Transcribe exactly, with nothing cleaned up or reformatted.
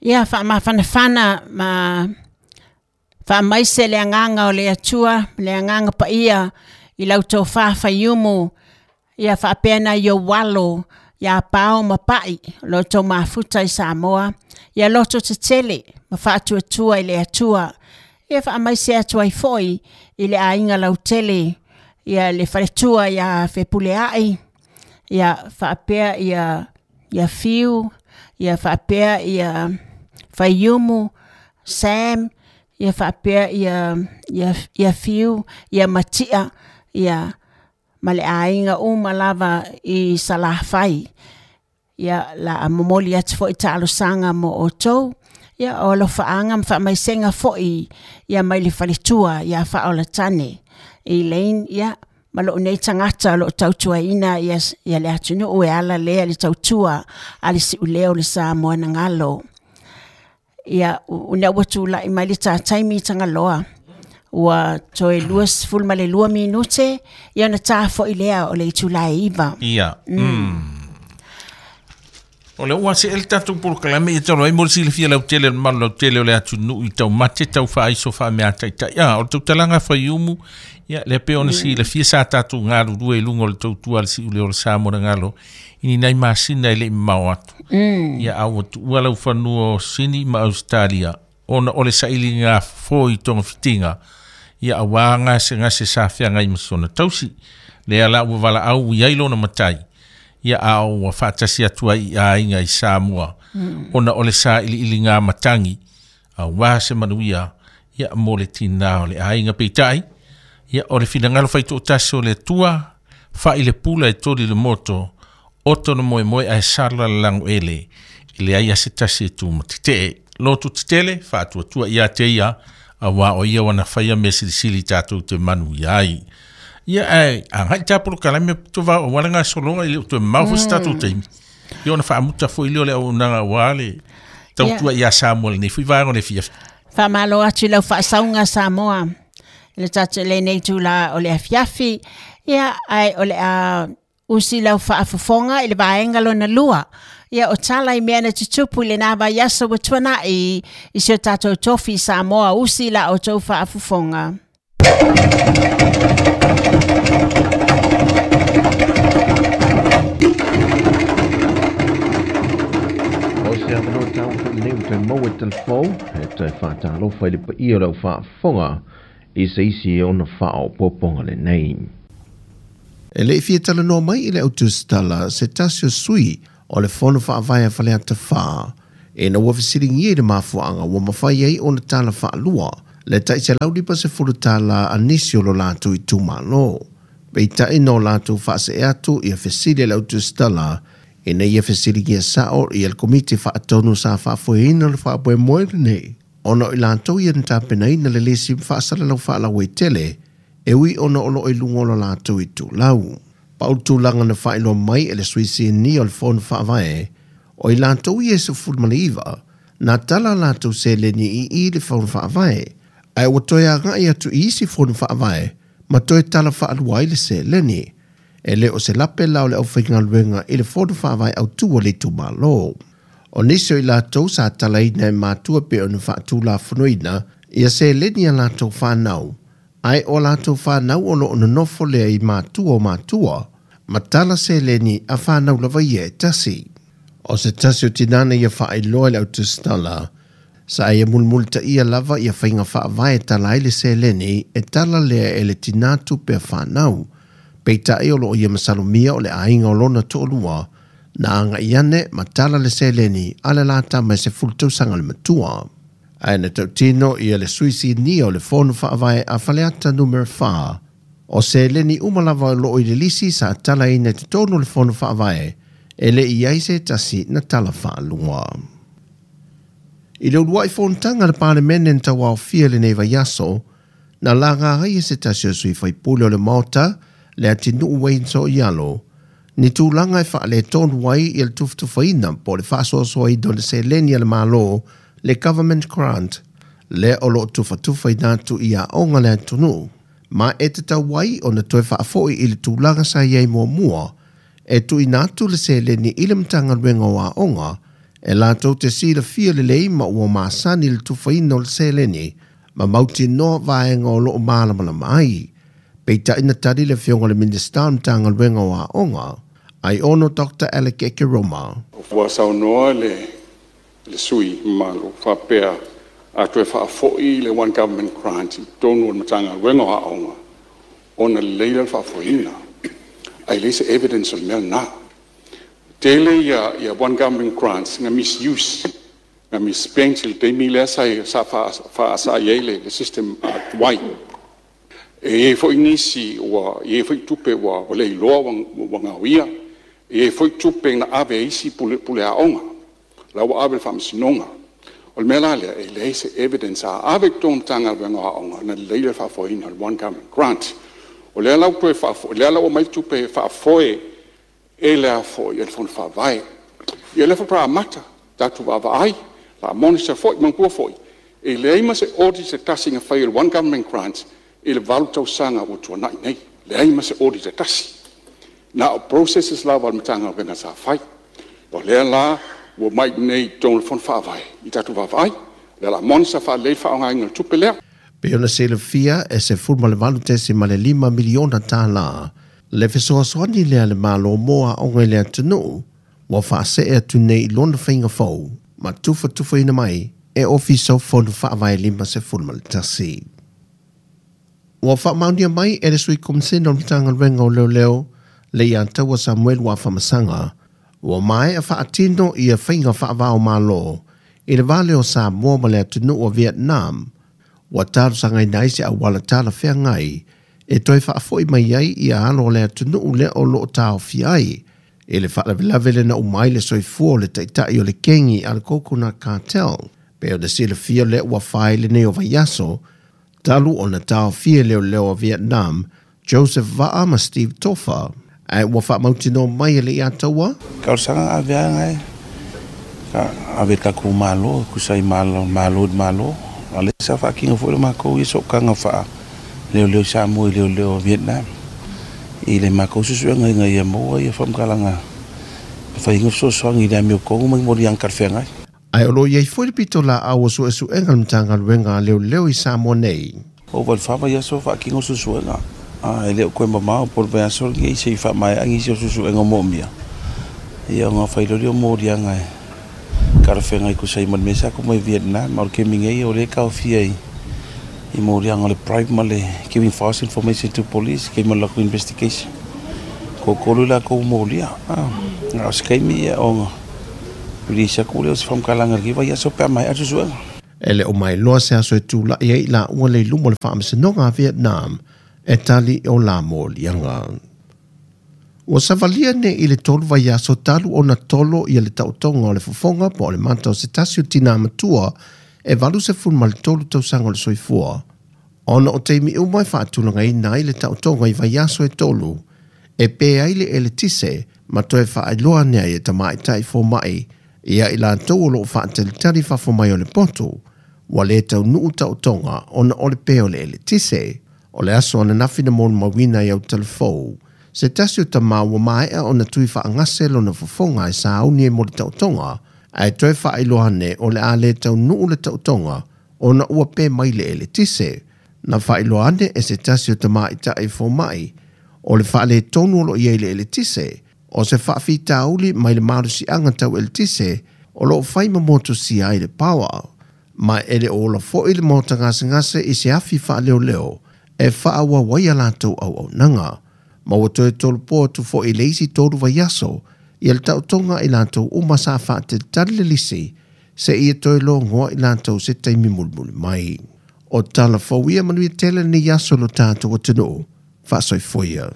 Ia faamafanafana ma faamaise le agaga o le Atua, le agaga paia i lau tofa Faiumu, ia faapea nai ou alo ia Pao ma Pai, o lo outou mafuta i Samoa, ia loto tetele ma faatuatua i le Atua. Ia faamaise atu ai foi i le aiga lautele, ia le faletua ia Fepuleai, ia faapea ia ia Fiu, ia faapea ia Faiumu, Sam, ia faapea ia ia ia Fiu, ia Matia, ia ma le aiga uma lava i Salafai. Ia la momoli atu foi talosaga mo outou, ia o alofaaga ma faamaisega foi ia mai le faletua ia Faaolatane Elaine, ia ma lou nei tagata o loo tautuaina ia, ia le atunuu e ala lea le tautua a le siuleo o le Samoa na galo. Ia una ua tulai mai le tataimi Tagaloa, ua toe luasefulu ma le lua minute, ia ona ta foi lea o le itula e iva. Ia. Mm. O le ua se el tatou polokalame ia talu ai mo le silafia lautele o le mamalu lautele o le atunuu i taumate tau faaiso faameataitai. Ia, o le tautalaga Faiumu, ia lea pe ona silafia sa tatou galulue i luga o le tautua a le siuleo o le Samoa na galo i ni nai masina e le i mamao atu. Ia, a ua tuua lau fanua o Sini ma Australia ona o le sailiga fofo i togafitiga, ia auā gasegase sa feagai ma sona tausi. Lea la ua valaau i ai lona matai, ia a ua faatasi atu ai i aiga i Samoa, ona o le sailiiliga matagi, auā se manuia, ia mo le tinā o le aiga peitai, ia o le finagalo faitoatasi o le Atua, fai le pula e toli le moto, oto na moemoe ae sala le lagoele, i leai a se tasi e tumatetee. Lotu tetele, faatuatua ia te ia, auā o ia wana faia mea silisili tatou te manuia ai. Ia ae agai tā polokalame tovao auala gasologa i le o toe mamao foi se tatou taimi. Ia ona faamuta foi lea o le auaunaga auā le tautua ia Samoa lenei foi vaega o le afiafi. Faamalo atu i lau faasauga Samoa i le tatou lenei itula o le afiafi. Ia ae o le a usi lau faafofoga i le vaega lona lua. Ia o tala i mea na tutupu i lena vaiaso ua tuanai i si o tatou tofi Samoa, usi la outou faafofoga. O se avanoa tau foi nei o toe maua i telefou, e toe faatalofa i le paia o lau faafofoga i se isi e ona faaopoopoga lenei. E le i fia talanoa mai i le autusitala se tasi o sui o le fono faavae a Faleata Fa, ina ua fesiligia i le mafuaaga ua mafai ai ona tala faalua le ta'iselau lima sefulu tala a nisi o lo latou itumālō. Peitai na o latou faase'e atu ia fesili a le autusitala ina ia fesiligia sa'o ia le komiti faatonu sa faafoeina le faamoemoe lenei, ona o i latou ia na tapenaina le lisi faasalalau faalauaitele e ui ona o loo i luga o lo latou itulau. Pau tulaga na faailoa mai e le sui sinia o le fono faavae, o i latou ia e sefulu ma le iva, na tala latou seleni i i le fono faavae, ae ua toe aga'i atu i isi fono faavae ma toe tala faalua ai le seleni. E le o se lape la o le aufaigaluega i le fono faavae autū o le itumālō. O nisi o i latou sa talaina e matua pe ona faatulafonoina ia seleni a latou whanau, ai o latou whanau o loo nonofo lea i matua o matua, ma tala seleni a whanau lava ia e tasi. O se tasi o tinana ia faailoa i le autusitala, sa ia mulmultaia lava ia faiga faavae tala ai le seleni e tala lea e le tinā tupe a whanau. Peitai o loo ia masalomia o le aiga o lona to'olua, na aga'i ane ma tala le seleni a le la tama e sefulu tausaga le matua. Ae na tautino ia le sui sinia o le fono faavae a Faleata numera fa, o seleni uma lava o loo i le lisi sa talaina i totonu o le fono faavae, e le i ai se tasi na tala faalua. I le ulua'i fonotaga a le Palemene na tauaofia lenei vaiaso, na laga ai e se tasi o sui faipule o le Maota, le atinuu Wayne So'ialo, ni tulaga e faaletonu ai ia le tufatufaina po o le faasoasoaina o le seleni a le Mālō, le government grant, lea o loo tufatufaina atu i aoga le atunuu, ma e tatau ai ona toe faafo'i i le tulaga sa iai muamua, e tuuina atu le seleni i le Matagaluega o Aoga E latou te silafia lelei ma ua masani le tufaina o le seleni ma mautinoa vaega o loo malamalama ai. Peitai na tali le afioga le Minista o Matagaluega o Aoga, ai ono Doctor Alec Ekeroma. Ua saunoa le, le sui mamalu faapea a toe faafoi le One Government Grant i totonu o le Matagaluega o Aoga ona lelei lea o le faafoeina. Ai leai se evidence o le mea lena. Tele ia, ia One Government Grants na misuse, na misspent i le taimi lea sa, sa faasaai ai le, le system uh, tuai. E i ai foi nisi ua i ai foi tupe ua, ua le iloa ua, ua gaoia. E i ai foi tupe na ave e isi pule, pule aoga. La ua ave le faamasinoga. O le mea la lea, e leai se evidence a ave i totonu o Matagaluega o Aoga na lelei le faafoeina o le One Government Grant. O lea la ua toe faafoe, lea la ua aumai tupe e faafoe e le afo'i e le Fono Faavae. Ia lea faatoa amata, tatou vaavaai, la monitor foi, manatua foi, e leai ma se audit se tasi na fai e le One Government Grant i le valu tausaga ua tuanai nei. Leai ma se audit e tasi. Na o processes lava a le Matagaluega sa fai. O lea la ua mai nei i totonu o le Fono Faavae i tatou vaavaai. Lea la monitor faalelei le faaaogaina o le tupe lea. Pei ona silafia e sefulu ma le valu tesi ma le lima miliona tālā le fesoasoani lea le Malo mo aoga i le atunuu ua faasee atu nei i lona faiga fou ma tufatufaina mai e Ofisa o Fono Faavae lima sefulu ma le tasi. Ua faamaonia mai e le Sui Komisena o le Matagaluega o Leoleo le ia taua Samuel Wafamasaga ua maea faatino ia faiga faavao malo i le vale o Samoa ma le atunuu o Vietnam. Ua talosagaina ai se auala talafeagai e toe faafoi mai ai ia alo o le atunuu lea o loo taofia ai e le faalavelave le na umai le soifua o le taitai o le kengi a le Coconut Cartel. Pe o le silafia lea ua fai lenei o vaiaso talu ona taofia leoleo o Vietnam Joseph Va'a ma Steve Tofa ae ua faamautinoa mai e le ia taua. Talosaga aveaga e ka ave takou malo kusai malo malo malo a le sa faakino foi le makou ia sookaga faa leoleo Samoa i leoleo Vietnam i le makou susuega ina ia maua ia faamatalaga faiga fesoasoani i le amiotogu ma moliaga talafeagai. Ae o lo iai foi le pito laau o suesuega le Matagaluega a leoleo i Samoa nei. O valefava ia so faakino susuega a e le o koe mamao po le vaiaso lenei sei faamaeaga isi o susuega moomia ia ona failoli o moliaga e talafeagai kusai ma le mea sa ku mai Vietnam ma o le kemi nei o le taofia i i moliaga o le bribe ma le giving false information to police ke ma lakou investigation kokolu lakou molia a o se kaimi ia ona release aku lea o se faamatalaga le vaiaso pe a maea susuega. E le o mailoa se aso e tula'i ai laua le i luma o le faamasinoga a Vietnam e tali o la moliaga. Ua savalia nei i le tolu vaiaso talu ona tolo ia le taotoga o le fofoga po o le mata o se tasi o tinā matua e valu sefulu ma le tolu tausaga o le soifua. Ona o taimi uma e faatulagaina ai le taotoga i vaiaso e tolu e pē ai le eletise ma toe faailoa ane ai e tamaitai foma'i ia i latou o loo faatalitali fafo mai o le poto ua lē taunuu taotoga ona o le pē o le eletise. O le aso ananafi na molimauina ai autalafou se tasi o tamā ua maea ona tui faagase lona fofoga e sauni e mo le taotoga ae toe faailoa ane o le a lē taunuu le taotoga ona ua pē mai le eletise. Na faailoa ane e se tasi o tamaitai foma'i o le faaletonu o loo iai le eletise o se faafitauli mai le malosiaga tau eletise o loo fai ma motusia ai le power ma e le o ola fo'i le maota gasegase i se afi faaleoleo e faaauau ai latou auaunaga. Ma ua toe tolopo atu fo'i le isi tolu vaiaso ia le taotoga i latou uma sa faatalitali le lisi se ia toe logoa i latou se taimi mulimuli mai. O tala fou ia manuia tele lenei aso lo tatou atunuu. Faasoifoia.